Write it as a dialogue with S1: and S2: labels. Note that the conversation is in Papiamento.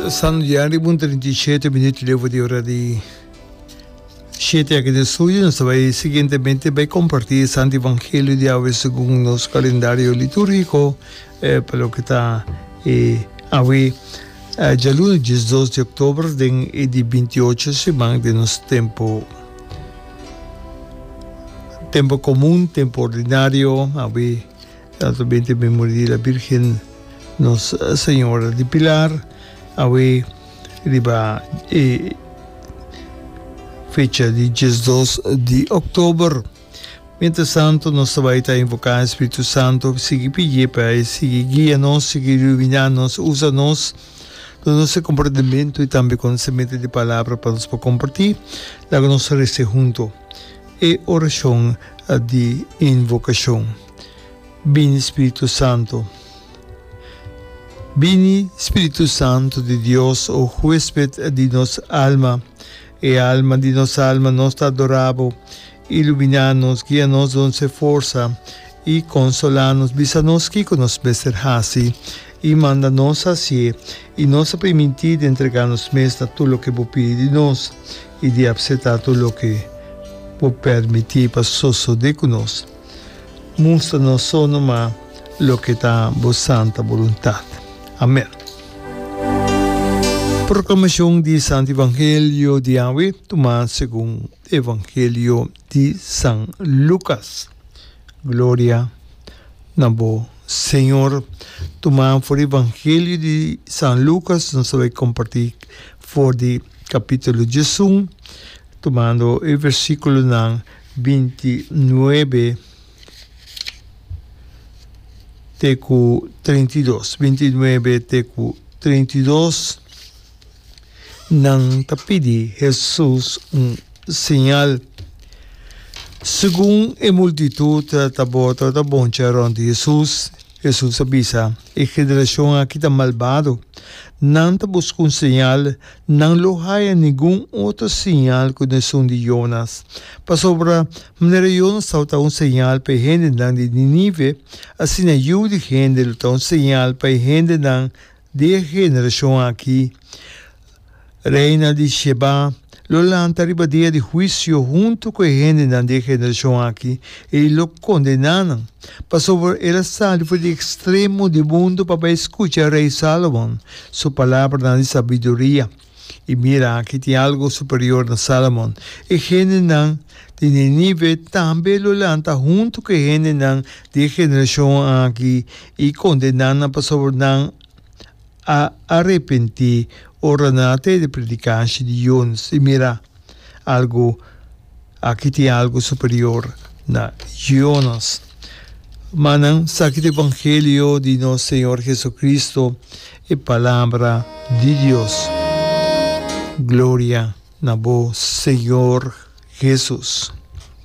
S1: San ya riba un 37 minuut leu di ora di shete aki den studio. Nos ta bai siguientemente bai comparti e Santo Evangelio di awe segun nos calendario liturgico pa loke ta e awe djaluna diesdos di october den e di bintiocho siman den nos tempo tempo comun, tempo ordinario. Awe ta binti memoria di la Virgen Nos Señora di Pilar. Awe riba e fecha di diesdos di october. Mientras tanto nos ta bai ta invoca e Spiritu Santo, sigui pidié pa e sigui guia nos, sigui ilumina nos, usa nos, duna nos e comprendimento y tambe conocimento di palabra pa nos por comparti. Laga nos reza hunto e oracion di invocacion. Bini Spiritu Santo. Bini Spiritu Santo di Dios, o huesped di nos alma, e alma di nos alma, nos ta adora bo. Iluminá nos, guia nos, duna nos e forsa i konsolá nos. Bisa nos kiko nos mester hasi i manda nos hasié, i nos ta primintí di entregá nos mes na tur loke bo pidi di nos i di apseptá tur loke bo permití pa sosodé ku nos. Mustra nos so numa loke ta bo santa boluntat. Amèn. Proklamashon di Santu Evangelio di awe tumá segun Evangelio di San Lukas. Gloria na bo, Señor. Tumá for di Evangelio di San Lukas, nos ta bai kompartí for di kapítulo diesun, tumando e versíkulonan 29 te ku 32. 29 te ku 32. Nan ta pidi Hesus un señal. Segun e multitut tabata ta boncha rònt di Hesus, Hesus a bisa, E generashon aki ta malbado. Nan ta buska un señal, nan lo haya ningun otro señal ku esun di Jonas. Pasobra manera Jonas tabata un señal pa e hendenan di Ninive, asina Yu di hende lo ta un señal pa e hendenan Di e generashon aki, reina di Sheba lo lanta riba dia di huisio huntu ku e hendenan di e generashon aki i lo kondená nan, pasobra el a sali for di ekstremo di mundu pa bai skucha Rei Sálomon su palabranan di sabiduria. I mira, aki tin algu superior na Sálomon. E hendenan di Ninive tambe lo lanta huntu ku e hendenan di e generashon aki i kondená nan pasobra nan a arepentí ora nan a tende predikashi di Jonas. I mira, algu Aki tin algu superior na Jonas. Manan, saki ta evangelio di nos Señor Jesucristo, e palabra di Dios. Gloria na bo, Señor Jesus.